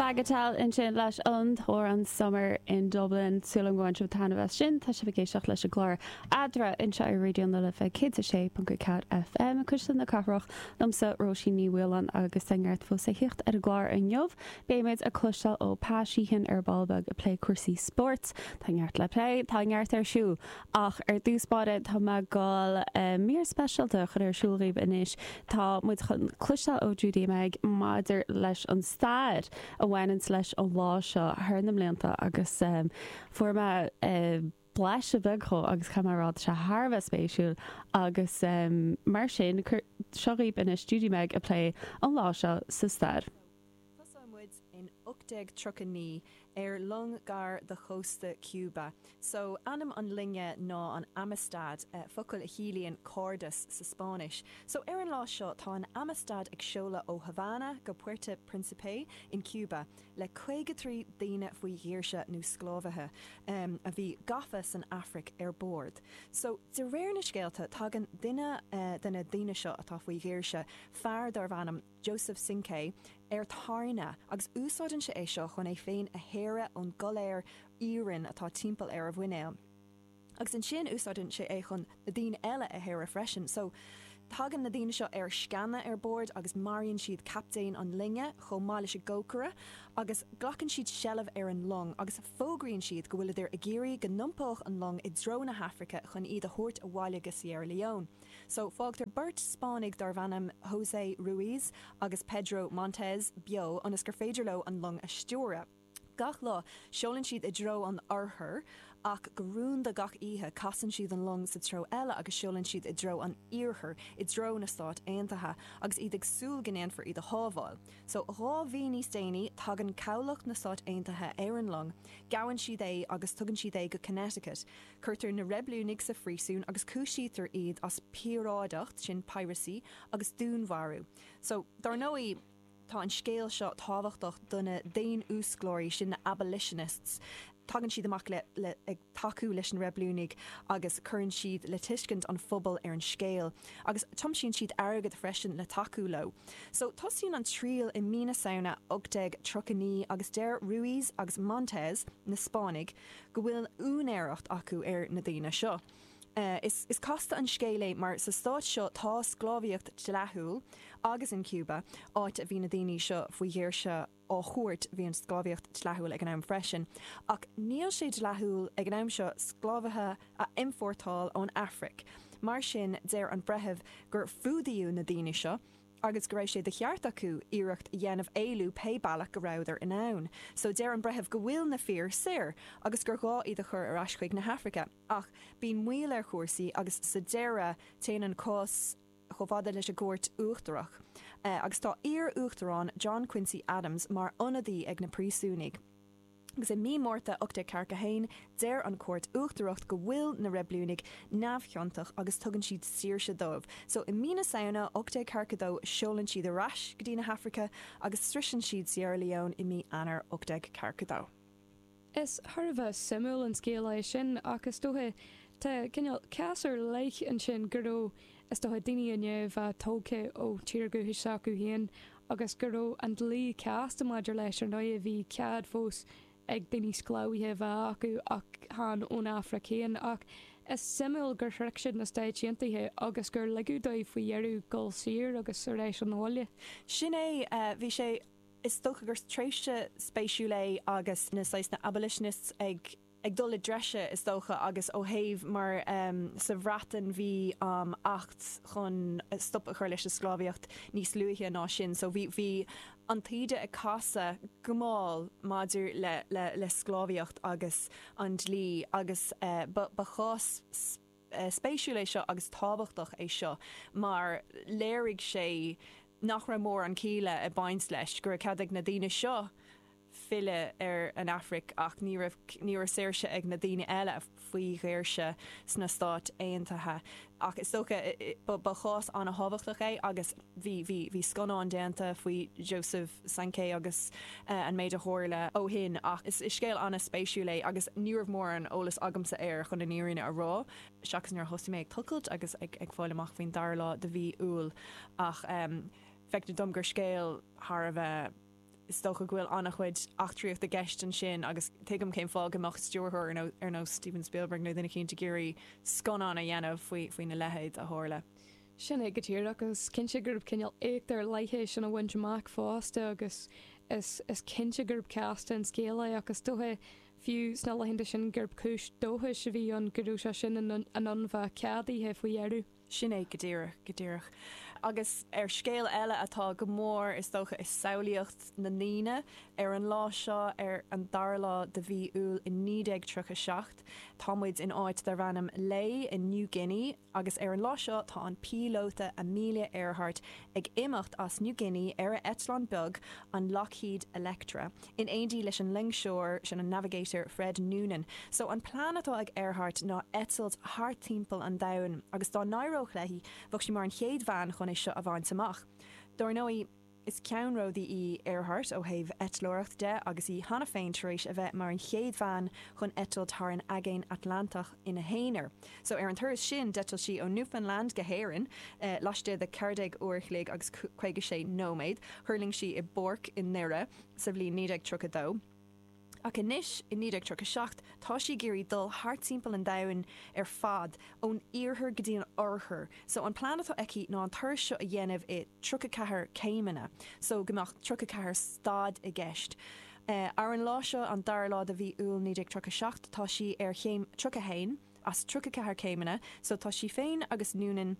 Bagatelle ansin leis an t-amhrán Summer in Dublin. Súil agam gur bhain sibh taitneamh as sin. Tá sibh ag éisteacht leis an gclár Eadra anseo ar Raidió na Life 106.4 FM, Cuisle na Cathrach, liomsa Róisín Ní Mhaoláin agus tá neart fós le theacht ar an gclár inniu. Beimid ag cloisteáil ó Pa Sheehan ar ball beag ag plé cúrsaí spóirt. Tá neart le plé, tá neart ar siúl. Ach ar dtús báire tá mé ag dul mír speisialta a chur ar siúl dhaoibh anois. Tá muid chun cloisteáil ó Judy Meg maidir leis an stair a bhaineanns leis an lá seo thar na mblianta agus fuair mé blaiseadh beag dhó agus caithfidh mé a rá tá sé thar a bheith spéisiúil agus mar sin seo dhaoibh anois Judy Meg ag plé an lá seo sa stair. Tosóidh muid in 1839 ar long gar do chósta Cuba. So, ainm an loinge ná an Amistad, focal a chiallaíonn cairdeas sa Spáinnis. So, ar an lá seo tá an Amistad ag seoladh ó Havana go Puerto Principe in Cuba le 53 daoine faoi dhaoirse nó sclábhaithe a bhí gafa san Afraic ar bord. So, de réir na scéalta tagann duine de na daoine seo atá faoi dhaoirse, fear darbh ainm Joseph Cinqué, ar tairne agus úsáideann sé é seo chun é féin a shaoradh ón gcoiléar iarainn atá timpeall ar a mhuinéal. Agus ansin úsáideann sé é chun na daoine eile a shaoradh freisin. So, tagann na daoine seo ar sceana ar bord agus maraíonn siad captaen an loinge chomh maith leis an gcócaire agus glacann siad seilbh ar an long agus fógraíonn siad go bhfuileadar ag iarraidh go n-iompódh an long i dtreo na hAfraice chun iad a thabhairt abhaile go Sierra Leone. So, fágtar beirt Spáinnigh darbh ainm José Ruiz agus Pedro Montes beo ionas gur féidir leo an long a stiúradh. Gach lá, seolann siad i dtreo an oirthir, ach go rúnda gach oíche, casann siad an long sa treo eile agus seolann siad i dtreo an iarthair, i dtreo na Stát Aontaithe, agus iad ag súil go ndéanfar iad a shábháil. So, 2 mhí níos déanaí, tagann cabhlach na Stát Aontaithe ar an long, gabhann siad é agus tugann siad é go Connecticut. Cuirtear na reibiliúnaigh sa phríosún agus cúisítear iad as píoráideacht, sin piracy, agus dúnmharú. So, dár ndóigh, tá an scéal seo tábhachtach do na daonfhuasclóirí, sin na abolitionists. Tagann siad amach le, le, ag tacú leis na reibiliúnaigh agus cuireann siad le tuiscint an phobail ar an scéal. Agus tiomsíonn siad airgead freisin le tacú leo. So, tosaíonn an triail i mí na Samhna 1839 agus deir Ruiz agus Montes, na Spáinnigh, go bhfuil úinéireacht acu ar na daoine seo. Is casta an scéal é mar sa stát seo tá sclábhaíocht dleathúil agus in Cuba, áit a bhí na daoine seo faoi dhaoirse á thabhairt, bhí an sclábhaíocht dleathúil ag an am freisin. Ach níl sé dleathúil ag an am seo sclábhaithe a iompórtáil ón Afraic. Mar sin deir an breitheamh gur fuadaíodh na daoine seo, agus go raibh sé de cheart acu iarracht a dhéanamh éalú pé bealach go rabhadar in ann. So deir an breitheamh go bhfuil na fir saor agus gur ghá iad a chur ar ais chuig na hAfraice. Ach bíonn moill ar chúrsaí agus sa deireadh téann an cás chomh fada leis an gCúirt Uachtarach. Agus tá iar-uachtarán John Quincy Adams mar ionadaí ag na príosúnaigh. Agus i mí Márta 1841, deir an Chúirt Uachtarach go bhfuil na reibiliúnaigh neamhchiontach agus tugann siad saoirse dóibh. So i mí na Samhna 1842 seolann siad ar ais go dtí na hAfraice agus sroiseann siad Sierra Leone i mí Eanáir 1842. Is thar a bheith suimiúil an scéal é sin ach is dócha tá cineál cás ar leith ansin go raibh is dócha daoine i ndiaidh a bheith tógtha ó tír dhúchais s'acu féin agus go raibh an dlí casta maidir leis, ar ndóigh bhí cead fós ag daoine sclábhaithe a bheith acu ach chan ón Afraic féin. Ach is suimiúil gur shroich siad na Stáit Aontaithe agus gur ligeadh dóibh faoi dheireadh dul saor agus ar ais 'na bhaile. Sin é, bhí sé, is dócha gur tréimhse spéisiúil é agus na saghas na abolitionists ag, ag dul i dtreise, is dócha, agus ó thaobh mar sa Bhreatain bhí acht chun stop a chur leis an sclábhaíocht níos luaithe ná sin so bhí bhí an taoide ag casadh go mall maidir le le le sclábhaíocht agus an dlí agus ba ba chás spéisiúil é seo agus tábhachtach é seo mar léirigh sé nach raibh mórán céille ag baint leis, go raibh cead ag na daoine seo filleadh ar an Afraic ach ní raibh ní raibh saoirse ag na daoine eile faoi dhaoirse sna Stáit Aontaithe. Ach is dócha ba ba chás an-thábhachtach é agus bhí bhí bhí scannán déanta faoi Joseph Cinqué agus an méid a tharla ó shin ach is is scéal an-spéisiúil é agus ní raibh mórán eolas agamsa air chun an fhírinne a rá seachas nuair a thosaigh mé ag tochailt agus ag ag fáil amach faoin dara lá de mhí Iúil ach feictear dom gur scéal thar a bheith. Is dócha go bhfuil an-chuid eachtraíocht i gceist ansin agus tuigim cén fáth go mbeadh stiúrthóir ar nós Steven Spielberg nó duine eicínt ag iarraidh scannán a dhéanamh faoi faoina leithéid a tharla. Sin é go díreach agus is cinnte gurb cineál éacht ar leith é sin a bhaint amach fosta agus is is cinnte gurb casta an scéal é ach is dócha fiú sna laethanta sin gurb cúis dóchais a bhí ann go raibh sé sin in ann bheith ceadaithe faoi dheireadh. Sin é go díreach, go díreach. Agus ar scéal eile atá go mór, is dócha, i samhlaíocht na ndaoine, ar an lá seo, ar an dara lá de mhí Iúil i 1937, tá muid in áit darb ainm Lae in New Guinea, Agus ar an lá seo tá an píolóta Amelia Earhart ag imeacht as New Guinea ar a eitleán beag, an Lockheed Electra, in éindí leis an loingseoir, sin an navigator Fred Noonan. So an plean atá ag Earhart ná eitilt thart timpeall an domhain agus dá n-éireodh léi bheadh sí mar an chéad bhean chun é seo a bhaint amach. Dár ndóigh, Is ceannródaí í Earhart ó thaobh eitleoireacht de agus í cheana féin tar éis a bheith mar an chéad bhean chun eitilt thar an Aigéan Atlantach ina haonar. So ar an turas sin d'eitil sí ó Newfoundland go hÉirinn laistigh de 14 uair a chloig agus 56 nóiméad. Thuirling sí i bPáirc i nDoire sa bhliain 1932. Ach anois, i 1937, tá sí ag iarraidh dul thart timpeall an domhain ar fad, ón iarthar go dtí an oirthear. So, an plean atá aici ná an turas seo a dhéanamh i 34 céimeanna, so go mbeadh 34 stad i gceist. Ar an lá seo, an dara lá de mhí Iúil 1937, tá sí ar chéim 31 as 34 céimeanna, so tá sí féin agus Noonan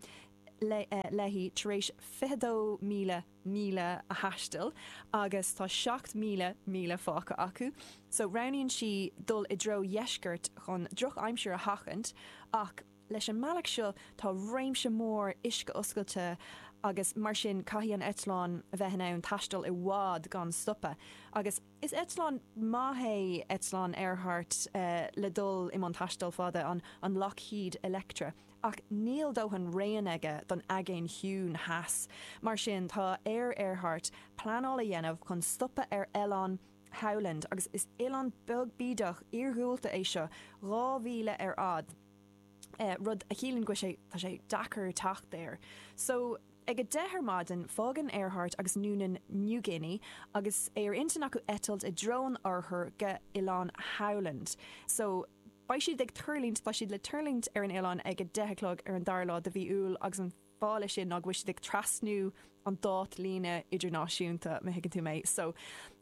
léi tar éis 22,000 míle a thaisteal agus tá 7,000 míle fágtha acu. So roghnaíonn sí dul i dtreo dheiscirt chun drochaimsir a sheachaint ach leis an mbealach seo tá réimse mór uisce oscailte agus mar sin caithfidh an eitleán a bheith in ann taisteal i bhfad gan stopadh agus Is eitleán maith é eitleán Earhart le dul i mbun taisteal fada, an Lockheed Electra, ach níl dóthain raon aige don Aigéan Chiúin Theas. Mar sin, tá ar Earhart pleanáil a dhéanamh chun stopadh ar Oileán Howland, agus is oileán beag bídeach iargúlta é seo, 2 mhíle ar fhad, rud a chiallaíonn go bhfuil sé, tá sé deacair teacht air. So. Ag 10 ar maidin, fágann Earhart agus Noonan New Guinea agus é ar intinn acu eitilt i dtreo an oirthir go Oileán Howland. So, beidh siad ag tuirlingt, tá siad le tuirlingt ar an oileán ag 10 a chlog ar an dara lá de mhí Iúil agus an fáth leis sin ná go bhfuil siad ag trasnú an dátlíne idirnáisiúnta, má thuigeann tú mé. So,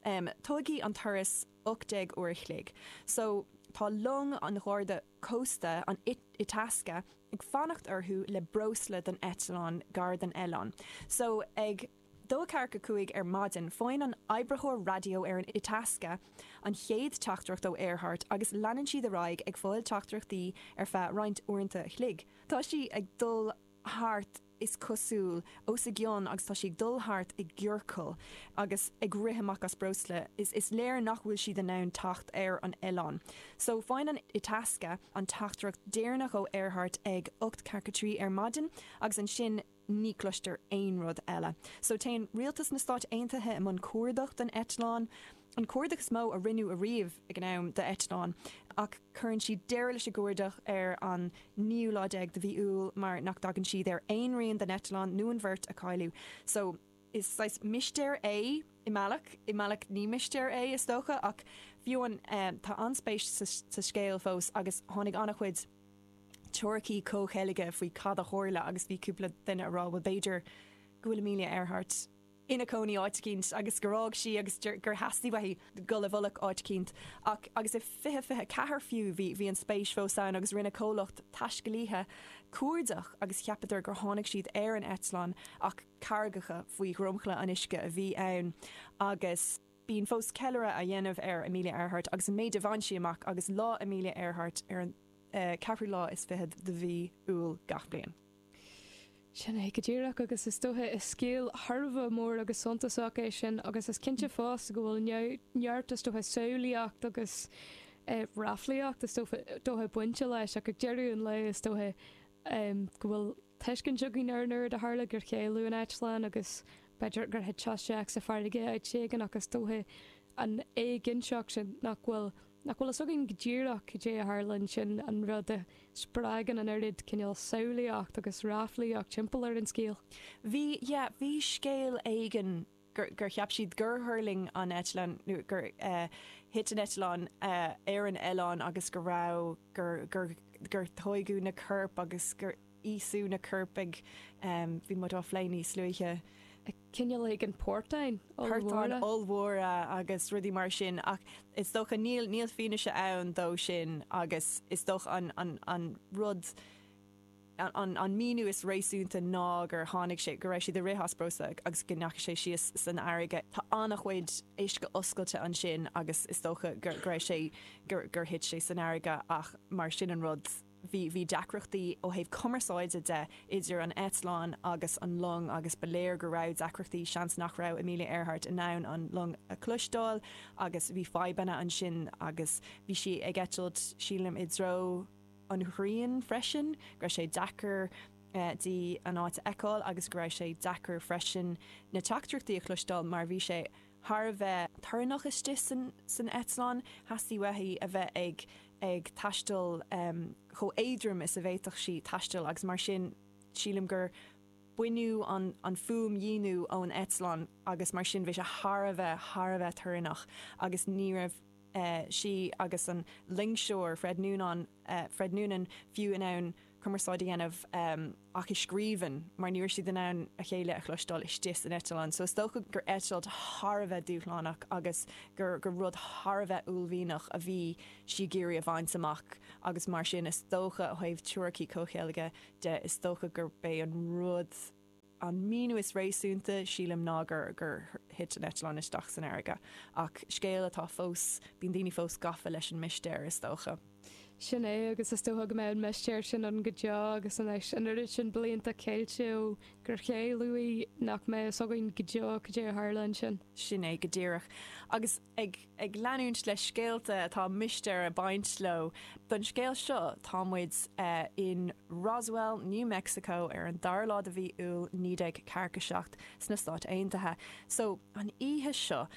em, tógfaidh an turas 18 uair a chloig. So, tá long an Gharda Cósta, an Itasca, ag fanacht orthu le breosla don eitleán gar don oileán. So, ag 2:45 ar maidin, faigheann an oibritheoir raidió ar an Itasca an chéad teachtaireacht ó Earhart agus leanann siad ar aghaidh ag fáil teachtaireachtaí ar feadh roinnt uaireanta a chloig. Tá sí ag dul thart is cosúil, os a gcionn agus tá sí ag dul thart i gciorcal agus ag rith amach as breosla. Is is léir nach bhfuil siad in ann teacht ar an oileán. So, faigheann an Itasca an teachtaireacht deireanach ó Earhart ag 8:43 ar maidin agus ansin ní cloistear aon rud eile. So, téann rialtas na Stáit Aontaithe i mbun cuardach don eitleán. an cuardach is mó a rinneadh ariamh ag an am d'eitleán, ach cuireann siad deireadh leis an gcuardach ar an naoú lá déag de mhí Iúil mar nach dtagann siad ar aon rian den eitleán nó an bheirt a cailleadh. So, is saghas mistéir é i mbealach, i mbealach ní mistéir é is dócha, ach fiú amháin tá an-spéis sa scéal fós agus tháinig an-chuid teoiricí comhcheilge faoi cad a tharla agus bhí cúpla duine a rá bhuel b'fhéidir go bhfuil Amelia Earhart ina cónaí áit eicínt agus gur fhág sí agus gur theastaigh uaithi dul i bhfolach áit eicínt. Ach agus i 2024 fiú bhí bhí an spéis fós ann agus rinne comhlacht taiscéalaithe cuardach agus cheapadar gur tháinig siad ar an eitleán ach carraigeacha faoi dhromchla an uisce a bhí ann agus bíonn fós ceiliúradh á dhéanamh ar Amelia Earhart agus an méid a bhain sí amach agus Lá Amelia Earhart ar an ceathrú lá is fichead de mhí Iúil gach bliain. Sin é go díreach, agus is dócha is scéal thar a bheith mór agus suntasach é sin agus is cinnte fosta go bhfuil neart is dócha samhlaíocht agus ráflaíocht is dócha bainte leis ach ag deireadh an lae is dócha go bhfuil tuiscint againn ar an rud a tharla gur cailleadh an eitleán agus b'fhéidir gur thit sé isteach sa farraige áit éigin ach is dócha an éiginnteacht sin nach bhfuil nach bhfuil fhios againn go díreach cad é a tharla ansin, an rud a spreagann an oiread cineál samhlaíocht agus ráflaíocht timpeall ar an scéal. Bhí, yeah, bhí scéal éigin. gur cheap siad gur thuirling an eitleán nó gur thit an eitleán ar an oileán agus go raibh, gur, gur, gur tóigeadh na coirp agus gur íosadh na coirp ag, bhí muid á phlé níos luaithe. Cineál éigin portáin ollmhóra. Portáin ollmhóra agus rudaí mar sin ach is dócha níl, níl fianaise ann dó sin agus is dócha an, an, an rud, an míniú is réasúnta ná gur tháinig sé, go raibh siad ag rith as breosla agus go ndeachaigh sé síos san fharraige. Tá an-chuid uisce oscailte ansin agus is dócha go raibh sé, gur thit sé san fharraige ach mar sin an rud, bhí, bhí deacrachtaí ó thaobh cumarsáide de idir an eitleán agus an long agus ba léir go raibh deacrachtaí, seans nach raibh Amelia Earhart in ann an long a chloisteáil agus bhí fadhbanna ansin agus bhí sí ag eitilt, sílim, i dtreo. an ghrian freisin, go raibh sé deacair di an áit a fheiceáil agus go raibh sé deacair freisin na teachtaireachtaí a chloisteáil mar bhí sé thar a bheith torannach istigh san eitleán. Theastaigh uaithi a bheith ag ag taisteal chomh éadrom is a bhféadfadh sí taisteal agus mar sin sílim gur baineadh an an fuaimdhíonadh ón eitleán agus mar sin bhí sé thar a bheith thar a bheith torannach agus ní raibh sí agus an loingseoir Fred Noonan, Fred Noonan, fiú in ann cumarsáid a dhéanamh ach i scríbhinn mar ní raibh siad in ann a chéile a chloisteáil istigh san eitleán. So is dócha gur eitilt thar a bheith dúshlánach agus gur gur rud thar a bheith uaillmhianach a bhí sí ag iarraidh a bhaint amach agus mar sin is dócha ó thaobh teoiricí comhcheilge de is dócha gurb é an rud An míniú is réasúnta, sílim, ná gur gur thit an eitleán isteach san fharraige. Ach scéal atá fós, bíonn daoine fós gafa leis an mistéir, is dócha. Sin é, agus is dócha go mbeidh an mistéir sin ann go deo agus anois an oiread sin blianta ceilte ó gur cailleadh í nach mbeidh fhios againn go deo cad é a tharla ansin. Sin é go díreach. Agus ag ag leanúint le scéalta atá mistéir ag baint leo, don scéal seo tá muid in Roswell, New Mexico ar an dara lá de mhí Iúil 1947 sna Stáit Aontaithe. So, an oíche seo,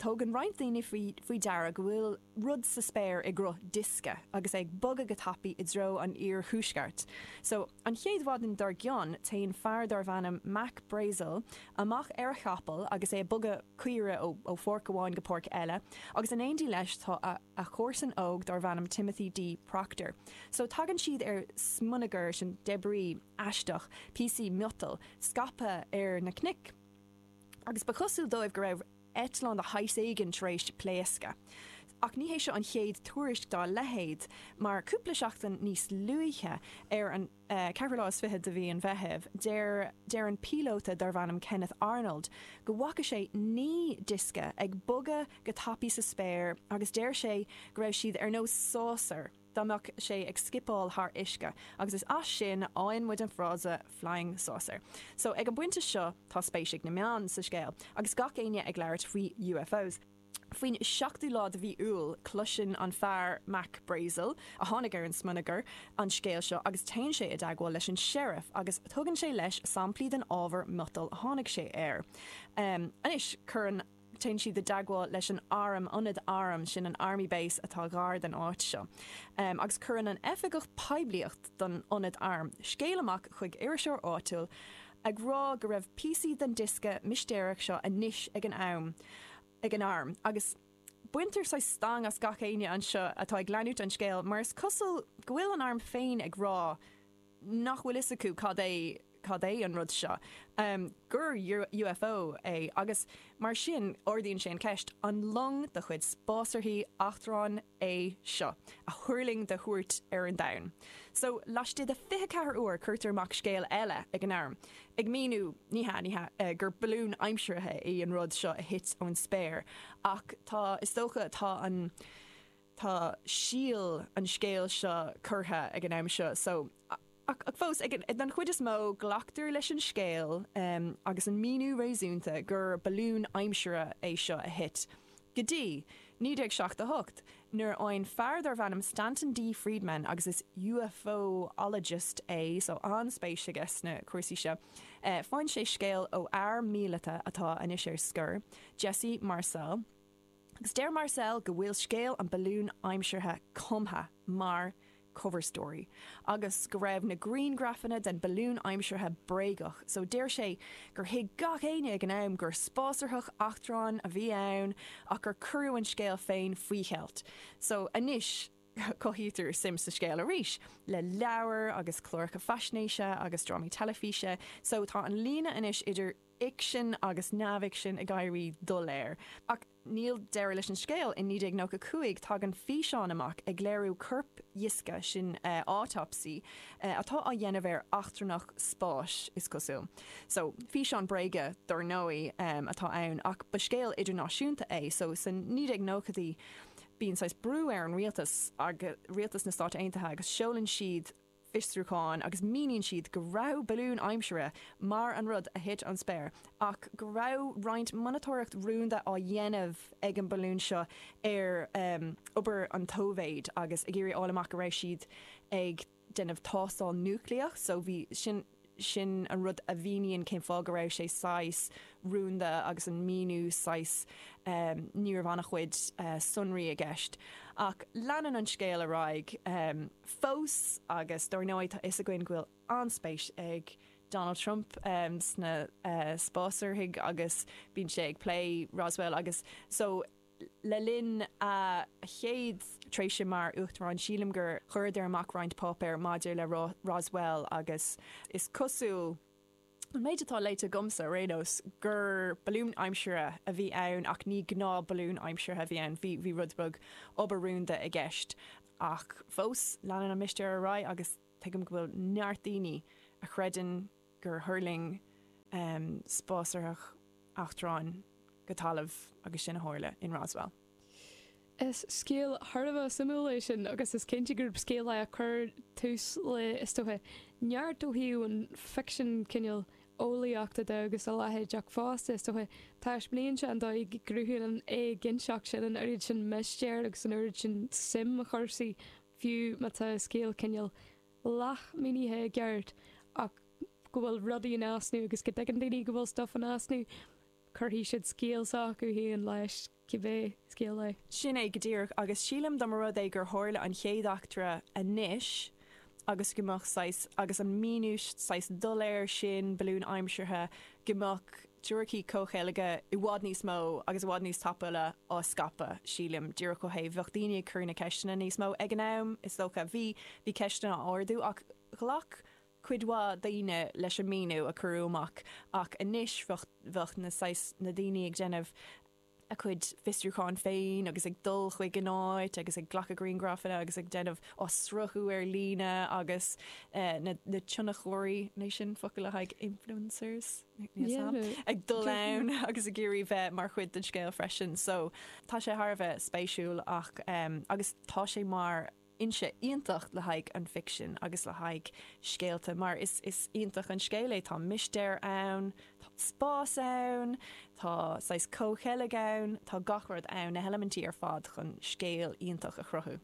tógann roinnt daoine faoi faoi deara go bhfuil rud sa spéir i gcruth diosca agus é ag bogadh go tapaidh i dtreo an iarthuaisceart. So, an chéad mhaidin dár gcionn, téann fear darbh ainm Mac Brazel amach ar a chapall agus é ag bogadh caoire ó pháirc amháin go páirc eile, agus in éindí leis tá a a chomharsan óg darbh ainm Timothy D. Proctor. So tagann siad ar smionagar, sin debris, aisteach, píosaí miotail, scaipthe ar na cnoic, agus ba chosúil dóibh go raibh eitleán de shaghas éigin tar éis pléascadh. Ach ní hé seo an chéad tuairisc dá leithéid, mar cúpla seachtain níos luaithe, ar an. ceathrú lá is fiche de mhí an Mheithimh, deir deir an píolóta darbh ainm Kenneth Arnold go bhfaca sé 9 diosca ag bogadh go tapaidh sa spéir agus deir sé go raibh siad ar nós sásar dá mbeadh sé ag scipeáil thar uisce agus is as sin a fhaigheann muid an frása flying saucer. So ag an bpointe seo tá spéis ag na meáin sa scéal agus gach éinne ag labhairt faoi UFOs. Faoin seachtú lá de mhí Iúil, cloiseann an fear, Mac Brazel, a tháinig ar an smionagar, an scéal seo agus téann sé i dteagmháil leis an Sheriff agus tugann sé leis samplaí den ábhar miotail a tháinig sé air. Anois, cuireann, téann siad i dteagmháil leis an arm, ionad airm, sin an Army Base atá gar don áit seo, agus cuireann an oifigeach poiblíocht don ionad airm scéal amach chuig iriseoir áitiúil ag rá go raibh píosaí den diosca mistéireach seo anois ag an am. ag an arm agus baintear saghas stangadh as gach éinne anseo atá ag leanúint an scéil mar is cosúil go bhfuil an arm féin ag rá nach bhfuil fhios acu cad é cad é an rud seo, gur UFO é agus mar sin ardaíonn sé an cheist, an long de chuid spásárthaí eachtráin é seo a thuirling de thuairt ar an domhan? So, laistigh de 24 uair cuirtear amach scéal eile ag an arm. Ag míniú, ní hea, ní hea, gur balún aimseartha í an rud seo a thit ón spéir. Ach tá, is dócha, tá an, tá síol an scéil seo curtha ag an am seo. So, ach, ach fós, ag an, don chuid is mó, glactar leis an scéal agus an míniú réasúnta gur balún aimsire é seo a thit. Go dtí 1978, nuair a fhaigheann fear darbh ainm Stanton D. Friedman, agus is UFOologist é, so an-spéis aige sna cúrsaí seo, faigheann sé scéal ó fhear míleata atá anois ar scor, Jesse Marcel, agus deir Marcel go bhfuil scéal an balúin aimseartha cumtha mar. cover story agus go raibh na grianghrafanna den balún aimseartha bréagach so deir sé gur thuig gach éinne ag an am gur spásárthach eachtráin a bhí ann ach gur cuireadh an scéal féin faoi cheilt so anois cothaítear suim sa scéal arís le leabhair agus cláracha faisnéise agus drámaí teilifíse so tá an líne anois idir fhicsean agus neamhfhicsean ag éirí doiléir. Ach níl deireadh leis an scéal, in 1995 tagann físeán amach ag léiriú corpdhioscadh, sin autopsy, atá á dhéanamh ar eachtrannach spáis, is cosúil. So, físeán bréige, dar ndóigh, atá ann ach ba scéal idirnáisiúnta é, so sna 1990idí bíonn saghas brú ar an rialtas, rialtas na Stát Aontaithe, agus seolann siad fiosrúchán agus míníonn siad go raibh balún aimsire mar an rud a thit ón spéir ach go raibh roinnt monatóireacht rúnda á dhéanamh ag an balún seo ar obair an tSóivéid agus ag iarraidh fháil amach go raibh siad ag déanamh tástáil núicléach so bhí sin Sin an rud a mhíníonn cén fáth go raibh sé saghas rúnda agus an míniú saghas, ní raibh an-chuid sonraí i gceist. Ach leanann an scéal ar aghaidh fós agus dár ndóigh tá fhios againn go bhfuil an-spéis ag Donald Trump sna spásárthaigh agus bíonn sé ag plé Roswell agus so Le linn a chéad tréimhse mar Uachtarán, sílim gur chuireadar amach roinnt páipéar maidir le Roswell agus is cosúil, an méid atá léite agamsa ar aon nós, gur balún aimsire a bhí ann ach ní gnáth balún aimseartha a bhí ann, bhí rud beag obair rúnda i gceist. Ach fós, leanann an mistéir ar aghaidh agus tuigim go bhfuil neart daoine a chreideann gur thuirling spásárthach eachtráin go talamh agus sin a tharla in Roswell. Is scéal thar a bheith suimiúil é sin agus is cinnte gurb scéal é a chuir tús le, is dócha, neart ó thaobh an ficsean cineál eolaíochta de agus a leithéid ach fosta, is dócha, taispeánaíonn sé an dóigh go gcruthaíonn an éiginnteacht sin an oiread sin mistéir agus an oiread sin suim i chúrsaí fiú má tá scéal cineál leathmhínithe i gceart ach go bhfuil rudaí in easnamh agus go dtuigeann daoine go bhfuil stuff in easnamh, cuirfidh siad scéal s'acu féin leis, cibé scéal é. Sin é go díreach, agus sílim dá mba rud é gur tharla an chéad eachtra anois agus go mbeadh saghas, agus an míniú saghas doiléir sin, balún aimseartha, go mbeadh teoiricí comhcheilge i bhfad níos mó agus i bhfad níos tapúla á scaipeadh, sílim, díreach ó thaobh, bheadh daoine ag cur na ceisteanna níos mó ag an am, is dócha. Bhí, bhí ceisteanna á ardú ach ghlac cuid mhaith daoine leis an míniú a cuireadh amach ach anois bheadh, bheadh na saghas, na daoine ag déanamh a gcuid fiosrúcháin féin agus ag dul chuig an áit agus ag glacadh grianghrafanna agus ag déanamh, á sruthú ar líne agus na na tionchóirí, an é sin focal le haghaidh influencers? Ag dul ann agus ag iarraidh bheith mar chuid den scéal freisin. So tá sé thar a bheith spéisiúil ach agus tá sé mar fhoinse iontach le haghaidh an ficsin agus le haghaidh scéalta mar is is iontach an scéal é, tá mistéir ann, tá spás ann, tá saghas comhcheilg ann, tá gach rud ann, na heilimintí ar fad chun scéal iontach a chruthú.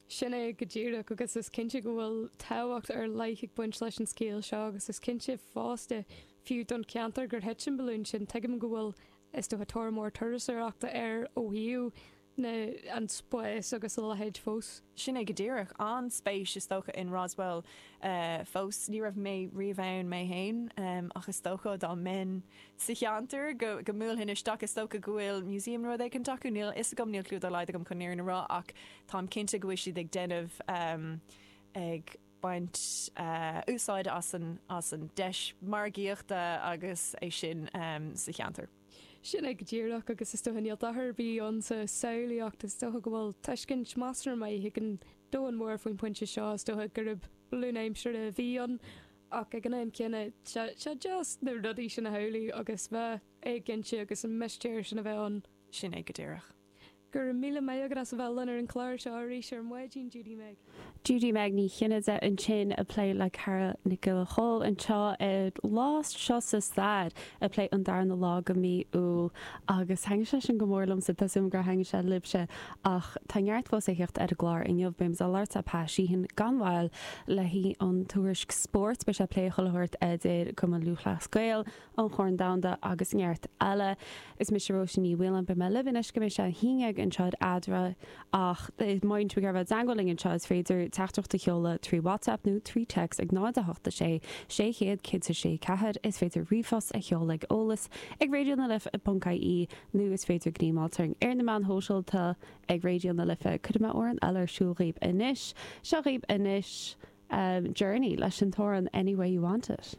Sin é go díreach agus is cinnte go bhfuil tábhacht ar leith ag baint leis an scéal seo agus is cinnte fosta, fiú don cheantar gur thit an balún sin, tuigim go bhfuil is dócha tóir mór turasóireachta air ó thaobh na, an spás agus a leithéid fós. Sin é go díreach. An-spéis is dócha in Roswell fós. Ní raibh mé riamh ann mé féin ach is dócha dá mbeinn sa cheantar go go mbuailfinn isteach. Is dócha go bhfuil museum nó rud éicint acu. Níl a fhios agam, níl clue dá laghad agam chun an fhírinne a rá ach táim cinnte go bhfuil siad ag déanamh ag baint úsáid as an as an deis margaíochta agus é sin sa cheantar. Sin é go díreach, agus is dócha níl dochar ar bith ann sa samhlaíocht, is dócha go bhfuil tuiscint measartha maith ag an domhan mór faoin bpointe seo, is dócha gurb balún aimsire a bhí ann, ach ag an am céanna, tá sé deas na rudaí sin a shamhlú agus bheith éiginnte agus an mistéir sin a bheith ann. Sin é go díreach. Go raibh míle maith agat as a bheith linn ar an chlár seo arís ar maidin, Judy Meg. Judy Meg Ní Chinnéide ansin ag plé le Carol Nic Giolla Chóill anseo ar Lá Seo sa Stair ag plé an darna lá de mhí Iúil agus thaitnigh sé sin go mór liomsa, tá súil agam gur thaitnigh sé libhse ach tá neart fós le theacht ar an gclár inniu. Beidh muid ag labhairt le Pat Sheehan gan mhoill le haghaidh an tuairisc spóirt, beidh sé ag plé chuile shórt idir Cumann Lúthchleas Gael, an Chorn Domhanda agus neart eile. Is mise Róisín Ní Mhaoláin, beidh mé libh anois go mbeidh sé a haon dhéag. uilig anseo ar Eadra ach má bhíonn sibh ag iarraidh bheith i dteagmháil linn anseo is féidir teachtaireacht a sheoladh trí WhatsApp nó trí text ag 0 8 6 600 106 4. Is féidir ríomhphost a sheoladh ag eolas ag raidionalife.ie nó is féidir gníomháil orainn ar na meáin shóisialta ag Raidió na Life. Cuirfidh mé amhrán eile ar siúl dhaoibh anois. Seo dhaoibh anois Journey leis an t-amhrán Any Way You Want It.